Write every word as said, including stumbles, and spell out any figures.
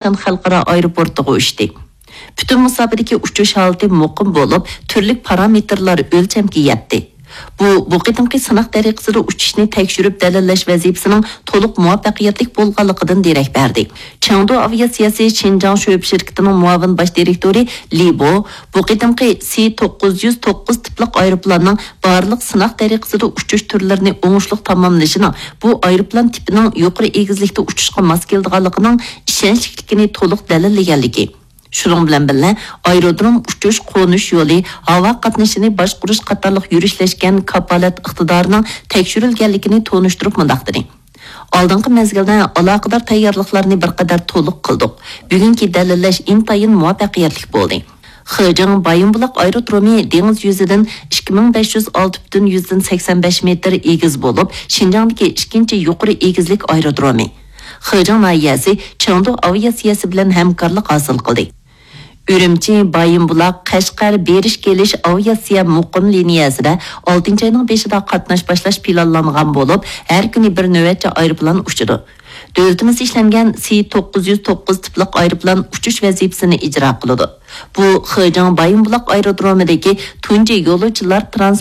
خەلقئارا ئايروپورتىغا ئۇچتى. پۈتۈن مۇساپىدىكى ئۇچۇش ھالىتى مۇقىم بولۇپ، تۈرلۈك پارامېتىرلار ئۆلچەمگە يەتتى. بۇ، بۇ قېتىمقى سىناق دەرىقىسىدا ئۇچۇشنى تەكشۈرۈپ دەلىللەش ۋەزىپىسىنىڭ تولۇق مۇۋەپپەقىيەتلىك بولغانلىقىدىن دېرەك بەردى. چېڭدۇ ئاۋىئاتسىيەسى شىنجاڭ شۆبە شىركىتىنىڭ مۇئاۋىن باش دىرېكتورى لى بو، بۇ قېتىمقى سى توققۇز يۈز توققۇز تىپلىق ئايروپىلاننىڭ بارلىق سىناق دەرىقىسىدا ئۇچۇش تۈرلىرىنى ئوڭۇشلۇق تاماملىشىنىڭ بۇ ئايروپىلان تىپىنىڭ يۇقىرى ئېگىزلىكتە ئۇچۇشقا ماس كېلىدىغانلىقىنىڭ ئىشەنچلىكلىكىنى تولۇق دەلىللىگەنلىكى، شۇنىڭ بىلەن بىللە، ئايرودروم ئۇچۇش، قونۇش يولى، ھاۋا قاتنىشىنى باشقۇرۇش قاتارلىق يۈرۈشلەشكەن كاپالەت ئىقتىدارىنىڭ تەكشۈرۈلگەنلىكىنى تونۇشتۇرۇپ مۇنداق دېدى: ئالدىنقى مەزگىلدە ئالاقىدار تەييارلىقلارنى بىر قەدەر تولۇق قىلدۇق. بۈگۈنكى دەلىللەش ئىنتايىن مۇۋەپپەقىيەتلىك بولدى. خېجىڭ بايىنبۇلاق ئايرودرومى دېڭىز يۈزىدىن ئىككى مىڭ بەش يۈز ئالتە پۈتۈن يۈزدىن سەكسەن بەش مېتىر ئېگىز بولۇپ، شىنجاڭدىكى ئىككىنچى يۇقىرى ئېگىزلىك ئايرودرومى. خېجىڭ ناھىيەسى چېڭدۇ ئاۋىئاتسىيەسى بىلەن ھەمكارلىق ھاسىل قىلدى. ئۈرۈمچى، بايىنبۇلاق، قەشقەر بېرىش كېلىش ئاۋىئاتسىيە مۇقىم لىنىيەسىدە ئالتىنچى ئاينىڭ بېشىدا قاتناش باشلاش پىلانلانغان بولۇپ، ھەر كۈنى بىر نۆۋەتچە ئايروپىلان ئۇچىدۇ. دۆلىتىمىز ئىشلەنگەن سى توققۇز يۈز توققۇز تىپلىق ئايروپىلان ئۇچۇش ۋەزىپىسىنى ئىجرا قىلىدۇ. بۇ خېجىڭ بايىنبۇلاق ئايرودرومىدىكى تۇنجى يولۇچىلار ترانس